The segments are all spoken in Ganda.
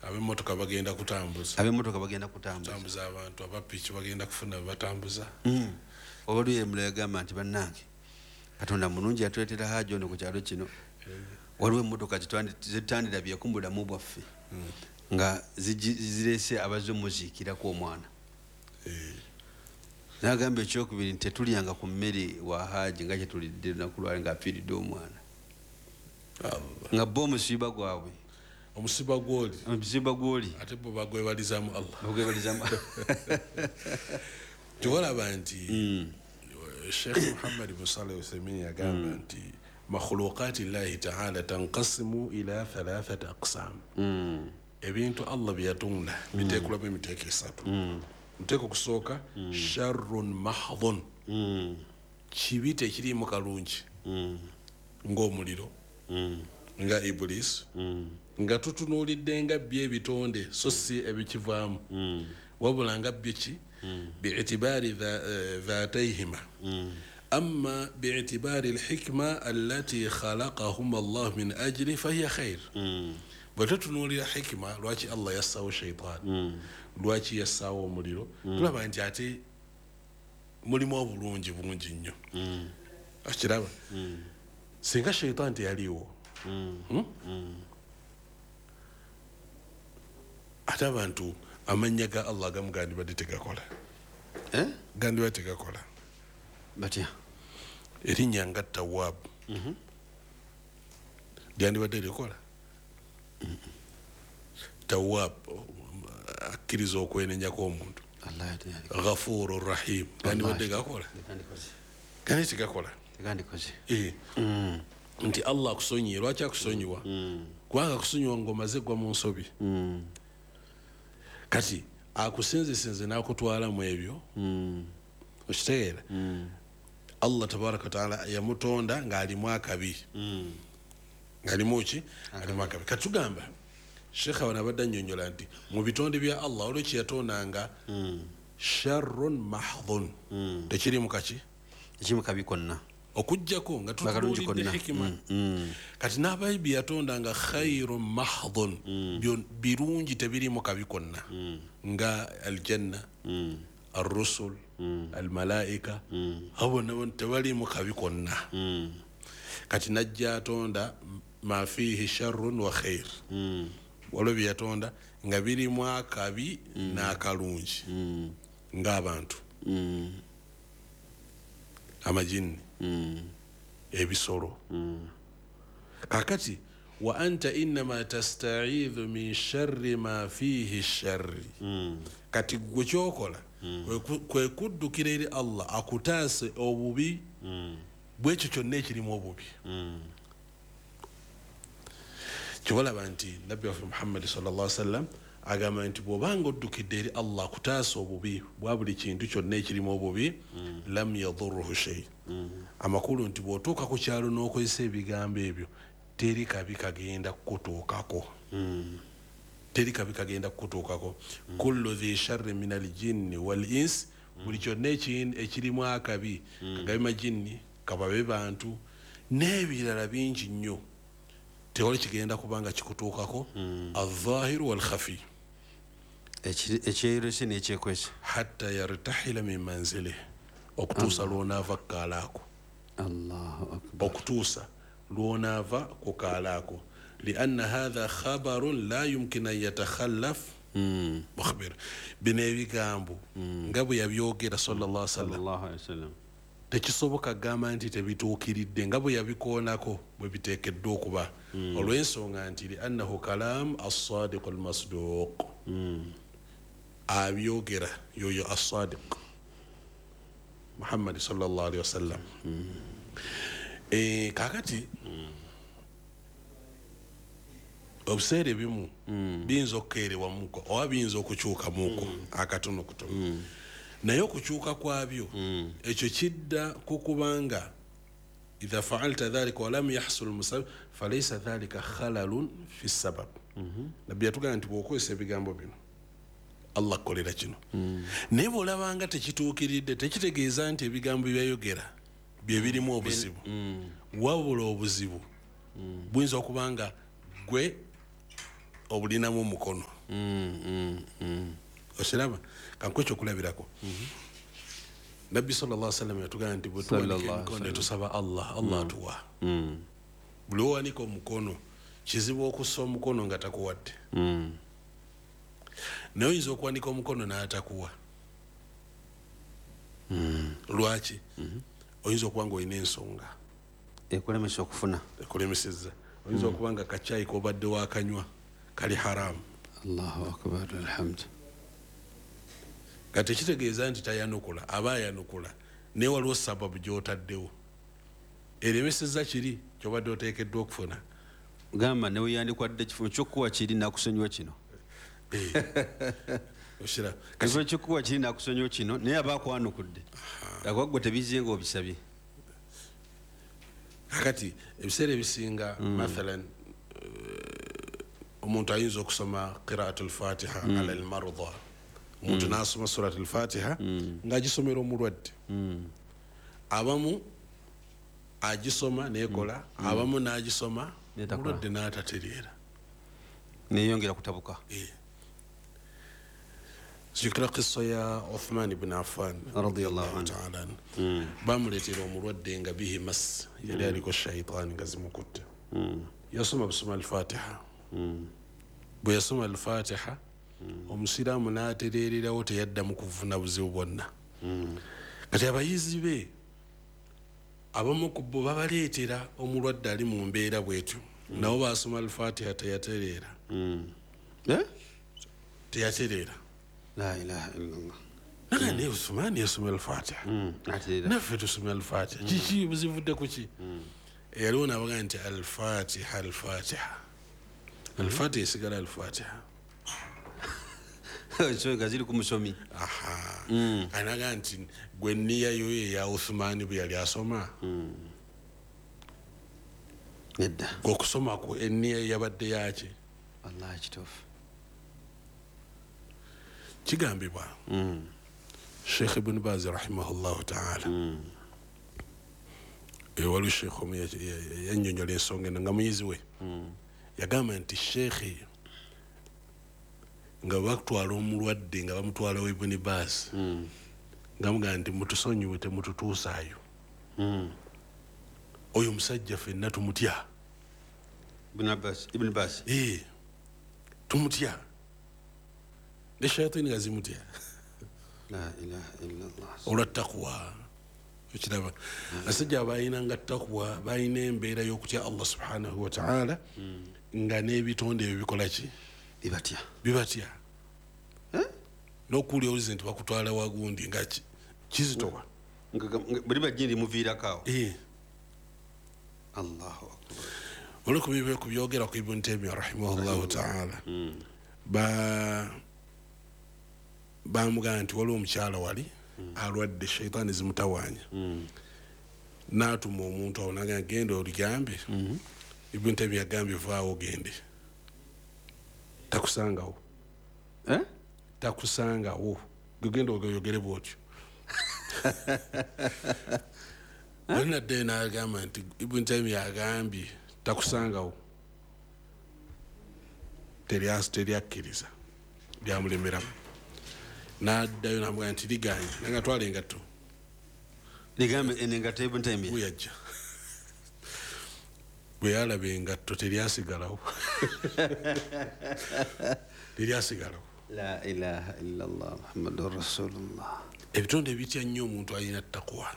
Ab'emmotoka bagenda kutambuza. Ab'emmotoka bagenda kutambuza. Kutambuza abantu, abapiki bagenda kufuna batambuza. Oba luli yagamba nti bannange Katonda mulungi yatuleetera Haji ono ku kyalo kino. Waliwo emmotoka zetutandirabyeko mu bulamu bwaffe nga zireese abazze omuziikirako omwana. N'agamba ekyokubiri nti tetulyanga ku mmere wa Haji nga kyetulidde lunaku lwali ng'afiiridde omwana. Nga bo omusiba gwabwe. Omusiba gw'oli. Omusiba gw'oli. Ate bo bagwebalizaamu Allah. Bagwebalizaamu. Kyolaba nti Sheikh Muhammad bin Saleh Uthaymeen yagamba nti makhluqati llahi ta'ala tanqasimu ila thalathati aqsam. Ebintu Allah bye yatonda biteekulamu emiteeko esatu. Omuteeko okusooka sharrun mahdhun, kibi tekiriimu kalungi, ng'omuliro, nga Iblis, nga tutunuulidde nga byo ebitonde so si ebikivaamu, wabula nga byo ki bi'itibaari dhatayhima, amma bi'itibaari alhikma allati khalaqahuma Allah min ajli fahiya khair. Bwe tutunuulira hikima lwaki Allah yassaawo shaitaani, lwaki yassaawo omuliro, tulaba nti ate mulimu obulungi bungi nnyo. Okiraba singa shaitaani teyaliiwo, ate abantu amannya ga Allah agamu gandibadde tegakola. Gandibadde tegakola. Batya? Erinnya nga Tawwab lyandibadde likola? Tawwab akkiriza okwenenyako omuntu. Ghafuru Rahim gandibadde gakola? Gandi tegakola. Nti Allah akusonyiye. Lwaki akusonyiwa? Kubanga akusonyiwa ng'omaze gwa mu nsobi. Kati akusinzisinze n'akutwala mu ebyo. Okitegeera? Allah tabaraka wa taala yamutonda ng'alimu akabi. Ng'alimu ki? Alimu akabi. Kati tugamba Sheikh wano abadde annyonnyola nti mu bitonde bya Allah waliwo kye yatondanga sharrun mahdhun, tekirimu kaki? Tekirimu kabi konna. Okuggyako nga tutunuulidde hikima. Kati n'abayibi yatondanga khairun mahdhun, birungi tebirimu kabi konna, nga aljanna, arrusul, almalaika, abo bonna tebalimu kabi konna. Kati najja atonda ma fihi sharrun wa khair, waliwo bye yatonda nga birimu akabi n'akalungi, ng'abantu, amajinni, ebisolo. Kakati wa anta innama tastaidhu min sharri ma fihi sharri. Kati gwe kyokola kwe kuddukira eri Allah akutaase obubi bwekyo kyonna ekirimu obubi. Kyobalaba nti Nabbi waffe Muhammadi sallallahu alaihi wasallam agamba nti bw'obanga oddukidde eri Allah akutaasa obubi bwa buli kintu kyonna ekirimu obubi, lam yadurruhu shay. Amakulu nti bw'otuuka ku kyalo n'okozesa ebigambo ebyo, teri kabi kagenda kukutuukako. Teri kabi kagenda kukutuukako. Kullu dhi sharri min aljinni wal ins, buli kyonna ekirimu akabi, kagabe majinni, kababe bantu, n'ebirala bingi nnyo, tewali kigenda kubanga kikutuukako. Adh-dhahiru wal khafi, ekyeyolese n'ekyekwese, hatta yartahila min manzilihi, okutuusa lw'onaava ku kaalaako. Allahu akbar. Okutuusa lw'onaava ku kaalaako, lianna hatha khabarun la yumkin an yatakhallaf mukhbir. Bino ebigambo nga bwe yabyogera sallallahu alaihi wasallam, tekisoboka kugamba nti tebituukiridde nga bwe yabikoonako bwe biteekeddwa okuba, olw'ensonga nti liannahu kalam as-sadiq al-masduq, abyogera yoyo as-sadiq Muhammad sallallahu alaihi wasallam. Kakati obuseera ebimu biyinza okukeerewamuko oba biyinza okukyukamuko akatono kutono, naye okukyuka kwabyo ekyo kidda ku kubanga idha faalta dhalika walam yahsul musabab falaysa dhalika khalalun fi sabab. Nabbi yatugamba nti bw'okozesa ebigambo bino Allah akolera kino, naye bw'olabanga tekituukiridde tekitegeeza nti ebigambo byayogera bye birimu obuzibu, wabula obuzibu buyinza okuba nga gwe obulinamu omukono. Osiraba kankuwe ekyokulabirako. Nabbi sallallahu alaihi wasallam yatugamba nti bwe tuwanika emikono tusaba Allah, Allah atuwa. Buli owanika omukono kizibu okussa omukono nga takuwadde. Naye oyinza okuwanika omukono n'atakuwa. Lwaki? Oyinza okuba nga olina ensonga ekulemesa okufuna, ekulemesezza. Oyinza okuba nga kacyayi k'obadde wakanywa kali haramu. Allahu akbar, alhamdu. Kati kitegeeza nti tayanukula, aba ayanukula, naye waliwo sababu gy'otaddewo eremesezza kiri ky'obadde oteekeddwa okufuna. Gamba ne weyandikwadde ekifo ky'okuwa kiri nakusonyiwa kino. Ekifo ky'okuwa kiri nakusonyiwa kino, naye aba akwanukudde. Akuwa ggwe tebizze ng'obisabye. Kakati ebiseera ebisinga mathalan omuntu ayinza okusoma qiraatul fatiha ala almarda, omuntu n'asoma suratul fatiha ng'agisomera omulwadde. Abamu agisoma neekola, abamu n'agisoma omulwadde n'atatereera, neyongera kutabuka. Zikira qissa ya Uthman ibn Affan radiyallahu ta'ala anhu. Bamuleetera omulwadde nga bihi mas, yali aliko shaitaani nga zimukutte. Yasoma busoma al-Fatiha. Bwe yasoma al-Fatiha, omusiraamu n'atereererawo, teyaddamu kuvuna buzibu bwonna. Kati abayizi be abamu ku bo babaleetera omulwadde ali mu mbeera bw'etyo, nabo basoma al-Fatiha teyatereera. Teyatereera. La ilaha illallah. Naga ne Uthman yasoma al-Fatiha, naffe tusoma al-Fatiha, kiki buzivudde ku ki? Yaliwo n'abaga nti al-Fatiha, al-Fatiha, al-Fatiha esigala al-Fatiha. So gaziri ku musomi. Anaga nti gwe nniya yo eya Uthman bwe yali asoma. Nedda. Gwe okusoma kwo enniya yabadde yaki? Wallahi kituufu. Kigambibwa Sheikh Ibn Baz rahimahullahu ta'ala, waliwo Sheikh omu yannyonnyola ensonga eno nga muyizi we. Yagamba nti Sheikh nga bakutwala omulwadde nga bamutwala wa Ibn Baz, nga mugamba nti mutusonyiwe temututuusaayo. Oyo omusajja ffenna tumutya. Ibn Baz. Tumutya. Ne shayatini nga zimutya. La ilaha illallah. Olwa taqwa. Ekiraba abasajja balina nga taqwa, balina embeera y'okutya Allah subhanahu wa ta'ala, nga n'ebitonde ebyo bikola ki? Bibatya. Bibatya. N'okuwulira oluzi nti bakutwala wagundi nga kizitowa. Buli bajjini limuviirako awo. Allahu akbar. Olw'okubibe ku byogera ku Ibn Taymiyyah rahimahullahu ta'ala, bamugamba nti waliwo omukyala wali alwadde shaitaani zimutawaanya. N'atuma omuntu awo n'agamba genda oligambe. Ibn Taymiyyah yagambye vaawo ogende. Takusangawo. Takusangawo. Genda oyogere bw'otyo. Oli naddayo n'agamba nti Ibn Taymiyyah agambye takusangawo. Teryakkiriza. Lyamulemeramu. N'addayo n'amugamba nti liganye, nanga twala engatto. Ligambe eno engatto Ibn Taymiyyah. Bwe yajja. Bwe yalaba engatto teryasigalawo. Teryasigalawo. La ilaha illallah Muhammadur Rasulullah. Ebitonde bitya nnyo omuntu alina taqwa.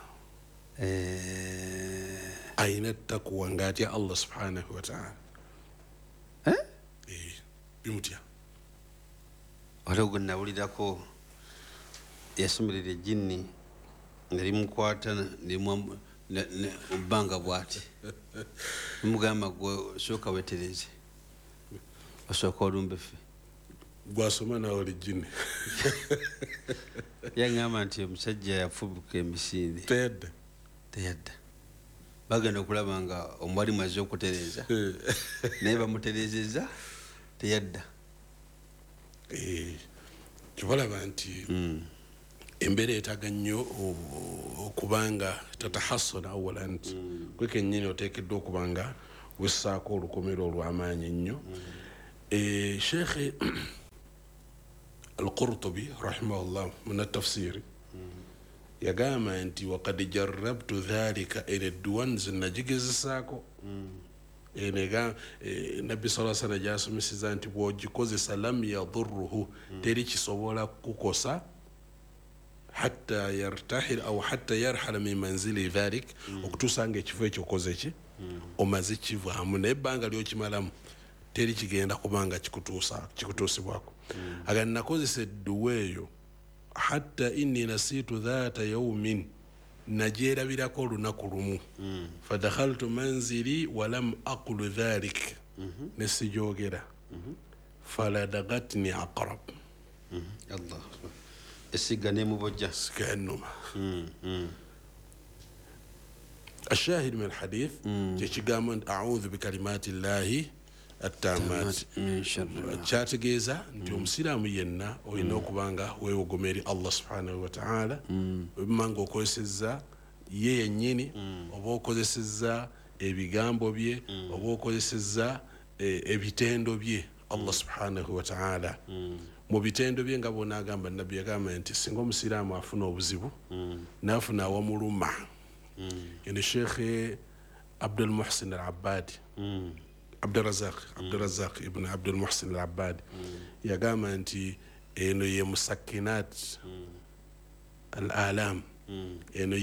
Alina taqwa ng'atya Allah subhanahu wa ta'ala. Bimutya. Waliwo gwe nawulirako yasomerera ejjinni nga limukwata ebbanga bw'ati. Limugamba gwe sooka weetereze, osooka olumbe ffe. Gwasoma naawe oli jjinni. Yaŋŋamba nti omusajja yafubuka emisinde. Teyadda. Teyadda. Bagenda okulaba nga omwalimu azze okutereeza, naye bamutereezezza teyadda. Kibalaba nti embeera yeetaaga nnyo okubanga tatahassana awala, nti gwe kennyini oteekeddwa okuba nga wessaako olukomero olw'amaanyi ennyo. Sheikh Al-Qurtubi rahimahullah mu tafsiri yagamba nti waqad jarrabtu dhalika, eno edduwa nze nagigezesaako. Eno Nabbi sallallahu alaihi wasallam gyasomeseza nti bw'ogikozesa lam yadurruhu, teri kisobola kukosa hatta yartahil au hatta yarhala min manzili dhalik, okutuusa nga ekifo ekyo okoze ki, omaze kivaamu, naye ebbanga lyokimalamu teri kigenda kubanga kikutuusibwako. Aga nakozesa edduwa eyo hatta inni nasitu dhata yawmin, nagyerabirako olunaku lumu, fadakhaltu manzili walam aqulu dhalik, nesijogera, faladagatni aqrab. Allah esiga nemubojja siganuma. الشاهد من الحديث kyekigambo a'udhu bikalimati llahi attamat, kyategeeza nti omusiraamu yenna olina okuba nga weewogoma eri Allah subhanahu wa ta'ala, webima nga okozesezza ye yennyini, oba okozesezza ebigambo bye, oba okozesezza ebitendo bye Allah subhanahu wa ta'ala. Mu bitendo bye nga bw'onaagamba, Nabbi yagamba nti singa omusiraamu afuna obuzibu n'afuna awamuluma, eno Sheikh Abdul Muhsin Al-Abbadi, Abdurazaq ibn Abdul Muhsin Al-Abbadi yagamba nti eno ye musakinat al-alam, eno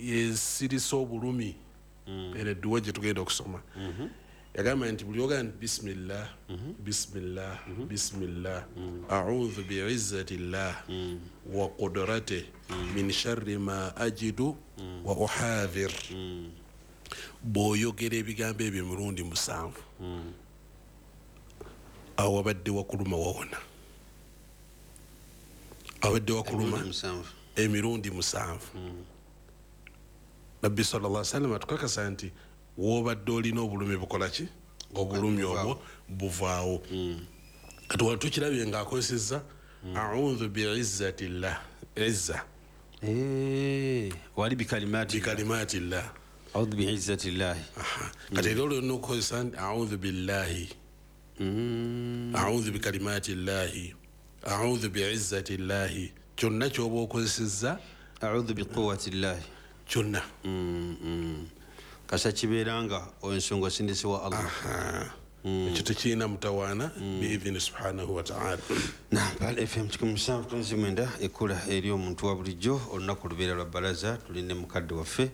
yesirisa obulumi, eno edduwa gye tugenda okusoma. Yagamba nti buli ogamba nti bismillah, bismillah, bismillah, a'udhu bi'izzati llah wa qudratihi min sharri ma ajidu wa uhadhir, bw'oyogera ebigambo ebyo emirundi 7, awo wabadde wakuluma wawona, abadde wakuluma emirundi 7. Nabbi sallallahu alaihi wasallam atukakasa nti wobadde olina obulumi bukola ki, obulumi obwo buvaawo. Kati wano tukirabye ng'akozesezza a'udhu bi'izzati llah, izza wali bikalimati llah, a'udhu bi'izzati llah. Kati era olina okukozesa nti a'udhu billahi, a'udhu bikalimati llahi, a'udhu bi'izzati llahi, kyonna ky'oba okozesezza, a'udhu biquwwati llahi, kyonna kasa kibeera nga ensonga sindisi wa Allah. Ekyo tekirina mutawaana biidhini subhanahu wa ta'ala. Naam, FM 7.9 ekula eri omuntu wa bulijjo. Olunaku lubeera lwa balaza, tuli ne mukadde waffe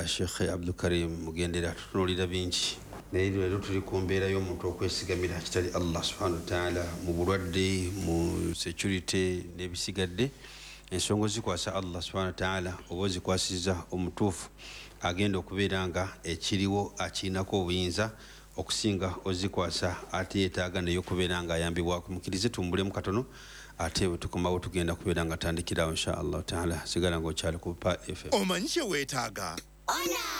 Sheikh Abdul Karim Mugendera, tutunuulira bingi, naye leero tuli ku mbeera y'omuntu okwesigamira kitali Allah subhanahu wa ta'ala mu bulwadde, mu security n'ebisigadde. Ensonga zikwasa Allah subhanahu wa ta'ala, oba ozikwasiza omutuufu agenda okubeera nga ekiriwo akirinako obuyinza okusinga ozikwasa ate yeetaaga naye okubeera nga ayambibwako. Mukkirize tumbulemu katono, ate bwe tukomawo tugenda kubeera nga tandikirawo insha Allah taala. Sigala ng'okyali ku Pa FM. Omanyi kye weetaaga?